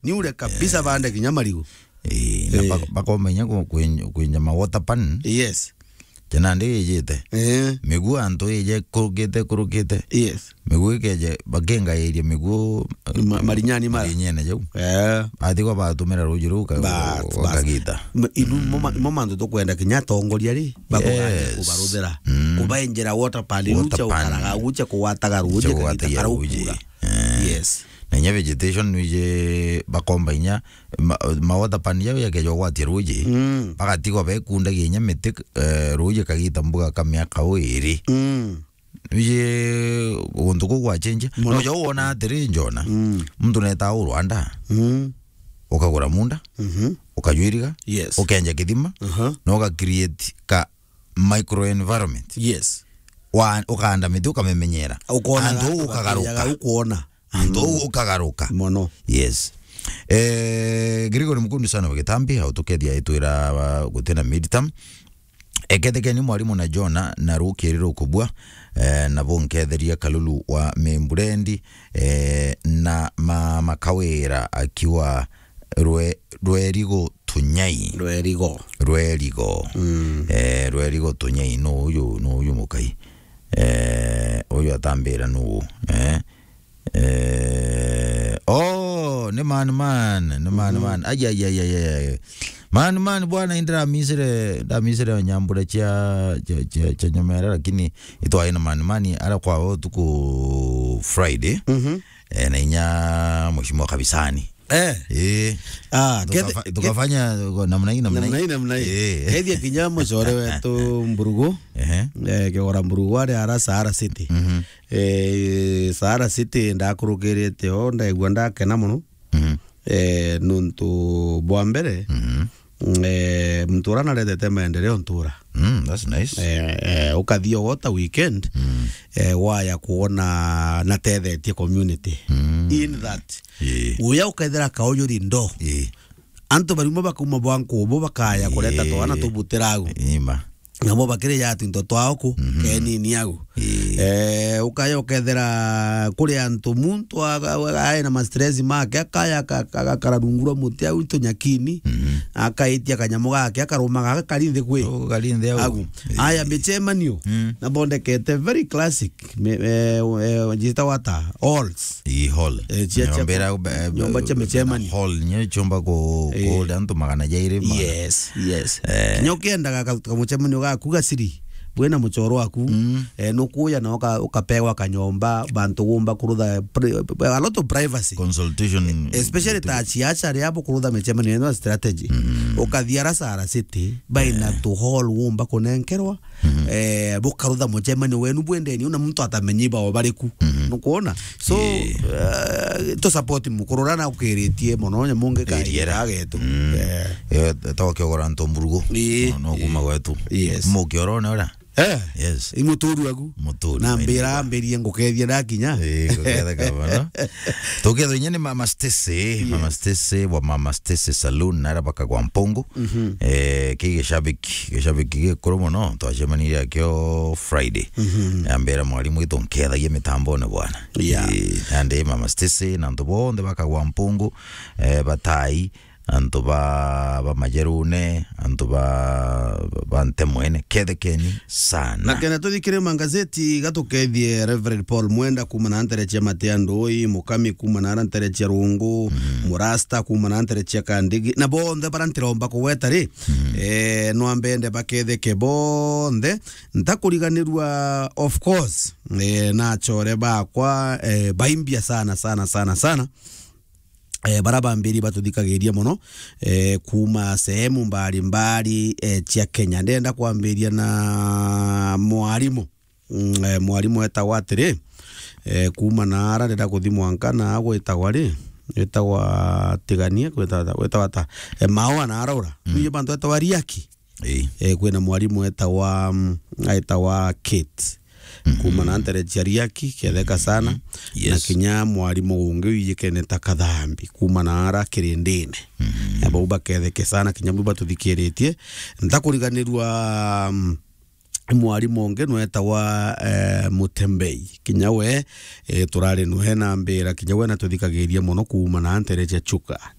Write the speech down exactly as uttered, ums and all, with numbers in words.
Ni ule kabisa, eh, bande kinya marigu. Eh, na, eh, bak-, bakomenya ku-, kwen-, kwenja ma water pan. Yes. Jana ndi ijite. Eh. Miguu antu ije kurukite, kurukite. Yes. Miguu ikeje, bakengairia miguu, ma-, marinyani mara. Marinyene jau. Eh. Athi kwa batumira ruji ruu ka-, bas, bas, kagita. Ma-, inu, mm, mo ma-, mo mantu tukwenda kinya atongoria ri, bakugania, yes, kubaruthira. Mm. Kubaenjera water pan, water pan, uche ukaraga, uche kugwataga ruji, kagita karaukura. Eh. Yes. Na inya vegetation nwije bakomba inya ma, ma water pan jau yakeja kugwatia ruji. Mm. Bagatigwa bekundagia inya miti, eh, ruji kagita mbuga ka miaka o iri. Mm. Nwije guntu kuu gwachenjia. Mono. Noja wona atiri njona. Mm. Muntu neta u Rwanda. Mm. Ukagura munda. Mhm. Ukajwiriga. Yes. Ukenja kithima. Aha. Na uga create ka microenvironment. Yes. Wa-, ukaanda miti ukamimenyera. Ukona antu ga-, ukagaruka. Ukona. Antu, mm, ukagaruka. Mono. Yes. Eh, Gregory Mukundu sana wa Gitambi, au tukethia itwira, uh, gutina midterm. Ekethekeni mwarimu na Jona na rukiri rukubua, eh, na bunketheria Kalulu wa Mimburendi, eh, na ma-, Makawira akiwa Rwe-, Rwerigo Tunyai. Rwerigo. Rwerigo. Mm. Eh, Rwerigo Tunyai, no uyu, no uyu mukai. Eh, uyu atambira nu, eh. Eh, oh, ni man, man, ni man, mhm, man. Ai, ai, ai, ai, ai, ai. Man, man, bwana, indira misire, nda misire nyambura cia, cia, cia, cia nyomera, lakini itwaye na man, man, ara kwa utuku Friday. Mhm. Eh, na inya mheshimiwa Kabisani. Eh. Eh. Ah, tukafa-, kethe-, tukafanya namna hii, namna hii. Namna hii, namna hii. Eh. Kethia kinya mucore wetu Mburugu. Ehe. Eh, Kigora Mburugu ari ara Sahara City. Mhm. Eh, Sahara City ndakurukirite o, ndaigua ndakena mono. Mhm. Eh, nuntu bwa mbere, mhm, eh, muntu ura naretete maendeleo ntura. Mm, that's nice. Eh, eh, ukathia o ta weekend, mm, eh, waya kuona natethetie community. Mm. In that, ii, uya ukethira kaujuri ndo. Ii. Antu barimo bakauma bwa nkubu bakaya kureta, ii, twana tubutira agu. Ima. Nabo bakiri ya twinto twao ku, mhm, kenini agu. Ii. Eh, ukaya ukethira kuri antu muntu aga-, aga-, aina ma stress make, akaya aka-, aka-, agakara rungu rwa muti au tunyakini, mhm, akaitia kanyamu gake, akaruma gaka kari nthi kwi. Oh, kari nthi au. Agu. Ii. Aya micemanio, mm, nabondekete very classic. Me-, eh, eh, njita wata? Halls. Ii, hall. Eh, cia, cia, nyomba ira, eh, nyomba cia micemanio. Hall, nyo chumba ku, eh, kuria antu magana jairi, magana. Yes, yes. Eh. Kinya ukiendaga ka, kamucemanio gaku gaciri, bwina muchoro waku, mm, eh, nukuya na uka-, ukapewa kanyomba, bantu gumba kurutha pri-, a lot of privacy. Consultation. Eh, especially ta ciaca ria bukurutha micemanio ino strategy. Mm. Ukathia ara Sahara City, baina, eh, tu hall gumba kunenkerwa, mhm, eh, bukarutha mucemanio wenu bwendeni, una muntu atamenya ibao bariku. Mhm. Nukwona? So, yeah, eh, tu support mukuru ura na ukiritie mono, nyamu ngi ka iriera getu. Mm. Eh. Eh, to kiogora nto mburugu. Ii. No, no kuma gwetu. Yes. Mukiorone ura? Eh. Yes. I muturu agu. Muturu, na mbira, mbira ambirie ngukethia ndakinya. Eh, ngukethia kabana. Tukethwa inya ni Mama Stacy, yes, Mama Stacy wa Mama Stacy Saloon, na ara bakagwa Mpungu. Mhm. Eh, ki gishabiki, gishabiki gikuru mono, twacemanirie akio Friday. Mhm. Ambira mwarimu witu nkethagia mitambone bwana. Yeah. Eh, nandi Mama Stacy na antu bonthe bakagwa Mpungu, eh, batai, antu ba, ba Majerune, antu ba, ba Ntemwene, kethekeni sana. Na kenda tuthikire mangazeti, gatukethie Reverend Paul Mwenda kuma na ntere cia Matea Ndui, Mukami kuma na ara ntere cia Rungu, mm, Murasta kuma na ntere cia Kandigi, na bonthe bara ntiromba kugweta ri, mm, eh, nwambende baketheke bonthe, ntakuriganirua, of course, eh, na achore bakwa, eh, baimbia sana, sana, sana, sana. Eh, bara bambiri batuthikagiria mono, eh, kuma sehemu mbalimbali, eh, cia Kenya. Ndenda kwambiria na mwarimu. Mm, eh, mwarimu etagwa atiri, eh, kuma na ara ndenda kuthi mwanka na gwitagwa ri, gwitagwa Tigania, gwitagwa, gwitagwa ata? Eh, Maua na ara ura. Mm. Nuje bantu etagwa Riaki. Ii. Eh, kwina mwarimu etagwa, mm, aitagwa Kate. Mhm. Kuma na ntere cia Riaki, ketheka sana. Mhm. Yes. Na kinya mwarimu ungi wijikene ta Kathambi, kuma na ara Kirindine. Mhm. Na bau baketheke sana, kinya bau batuthikiritie. Ntakuriganirua, mm, mwarimu ungi nwetawa, eh, Mutembei. Kinya we, eh, turari nwe na mbira, kinya we natuthikagiria mono kuuma na ntere cia Chuka.